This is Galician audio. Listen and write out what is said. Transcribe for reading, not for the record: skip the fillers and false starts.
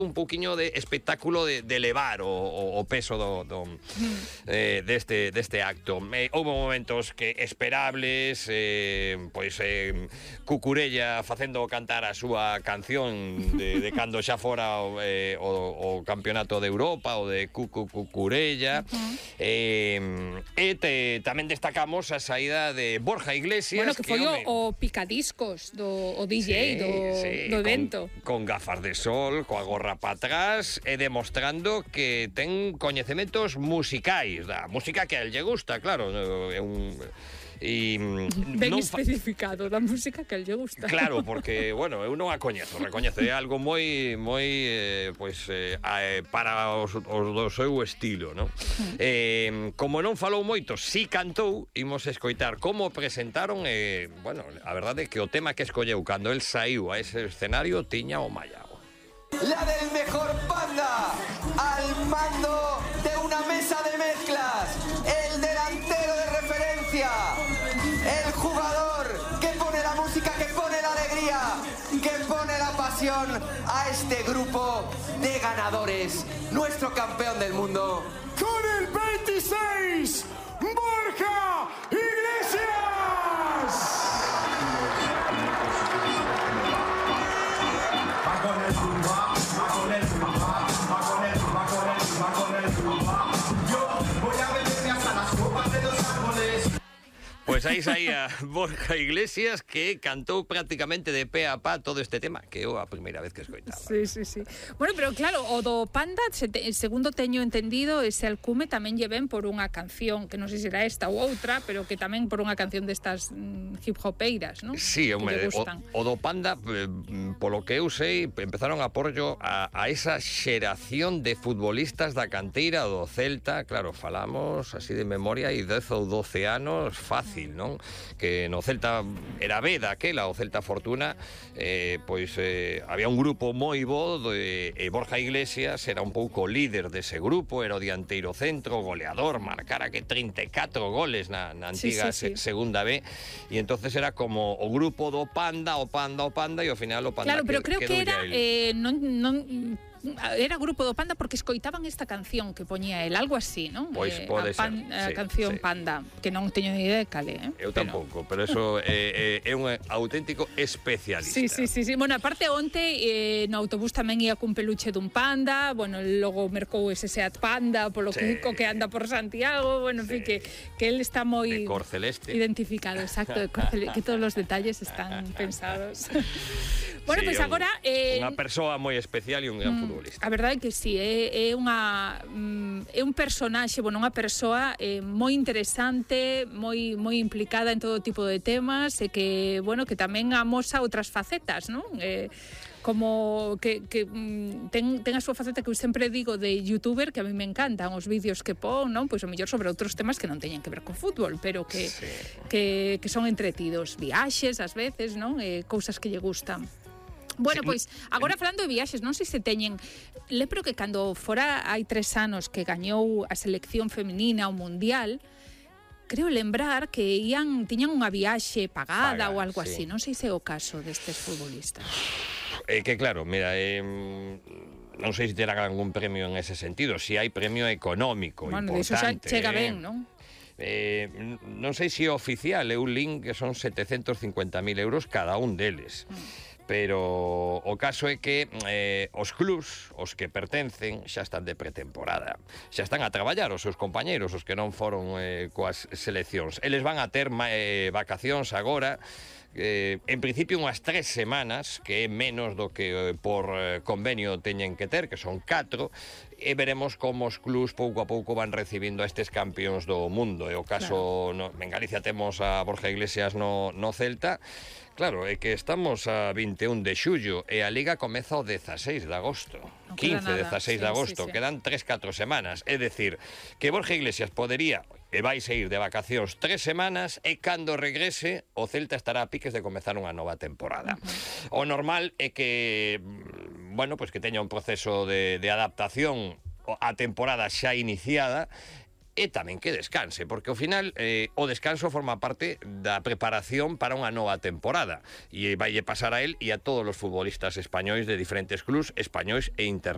un pouquiño de espectáculo de elevar o peso deste acto. Houve momentos que esperables, Cucurella facendo cantar a súa canción de cando xa fora o campeonato de Europa, o de Cucurella, tamén destacamos a saída de Borja Iglesias, bueno, que foi o picadiscos o DJ do evento, con gafas de sol, coa gorra para atrás, e demostrando que ten coñecementos musicais da música que a él lle gusta, claro, é un... ben especificado da música que a él lle gusta. Claro, porque, bueno, eu non a recoñezo, é algo moi para os do seu estilo, non? Como non falou moito, si cantou, imos escoitar como presentaron, bueno, a verdade é que o tema que escolleu cando el saiu a ese escenario tiña o mallao. La del mejor Panda, al mando de una mesa de mezclas, el delantero de referencia, el jugador que pone la música, que pone la alegría, que pone la pasión a este grupo de ganadores, nuestro campeón del mundo. Con el 26, Borja Iglesias. Pues aí saía Borja Iglesias, que cantou prácticamente de pé a pá todo este tema, que eu a primeira vez que escoitaba. Sí. Bueno, pero claro, o do Panda, segundo teño entendido, ese alcume tamén lle ven por unha canción, que non sei se era esta ou outra, pero que tamén por unha canción destas hip-hopeiras, non? Sí, o do Panda, polo que eu sei, empezaron a porllo a esa xeración de futbolistas da canteira do Celta. Claro, falamos así de memoria, e 10 ou 12 anos fácil, non? Que no Celta era B daquela, o Celta Fortuna, había un grupo moi bo, Borja Iglesias era un pouco líder dese grupo, era o dianteiro centro, goleador, marcara que 34 goles na antiga segunda B, e entonces era como o grupo do Panda, e ao final o Panda. Claro, pero creo que era era grupo do Panda porque escoitaban esta canción que poñía el, algo así, non? Pois pode ser. A canción Panda, que non teño ni idea de cale, Eu tampouco, pero eso é un auténtico especialista. Sí. Bueno, aparte onte no autobús tamén ia cun peluche dun panda, bueno, logo mercou ese Seat Panda polo que anda por Santiago, bueno, en fin, que él está moi de cor celeste identificado, exacto, de cor celeste, que todos os detalles están pensados. Bueno, pois agora unha persoa moi especial e un gran futbolista. A verdade é que sí, é un personaxe, bueno, unha persoa moi interesante, moi implicada en todo tipo de temas, e que, bueno, que tamén amosa outras facetas, non? Como que ten a súa faceta que eu sempre digo de youtuber, que a mí me encantan os vídeos que pon, non? Pois o mellor sobre outros temas que non teñen que ver con fútbol, pero que son entretidos, viaxes ás veces, non? Cousas que lle gustan. Bueno, pois, agora falando de viaxes, non sei se teñen... Lembro que cando fora hai 3 anos que gañou a selección feminina ao Mundial, creo lembrar que tiñan unha viaxe pagada ou algo así. Non sei se é o caso destes futbolistas. Que claro, mira, non sei se terán algún premio en ese sentido, si hai premio económico importante. Bueno, iso xa chega ben, non? Non sei se é oficial, é un link que son 750.000 euros cada un deles. Pero o caso é que os clubs, os que pertencen, xa están de pretemporada. Xa están a traballar os seus compañeiros, os que non foron coas seleccións. Eles van a ter vacacións agora, en principio unhas 3 semanas, que é menos do que por convenio teñen que ter, que son 4, e veremos como os clubs pouco a pouco van recibindo a estes campións do mundo. E o caso, en Galicia temos a Borja Iglesias no Celta. Claro, é que estamos a 21 de xullo e a Liga comeza o 16 de agosto. 15, 16 de agosto. Quedan 3-4 semanas. É dicir, que Borja Iglesias podería e vai sair de vacacións 3 semanas e cando regrese o Celta estará a piques de comezar unha nova temporada. O normal é que, bueno, pues que teña un proceso de adaptación a temporada xa iniciada, e tamén que descanse, porque ao final o descanso forma parte da preparación para unha nova temporada, e vai pasar a él e a todos os futbolistas españois de diferentes clubs españois e internacionais.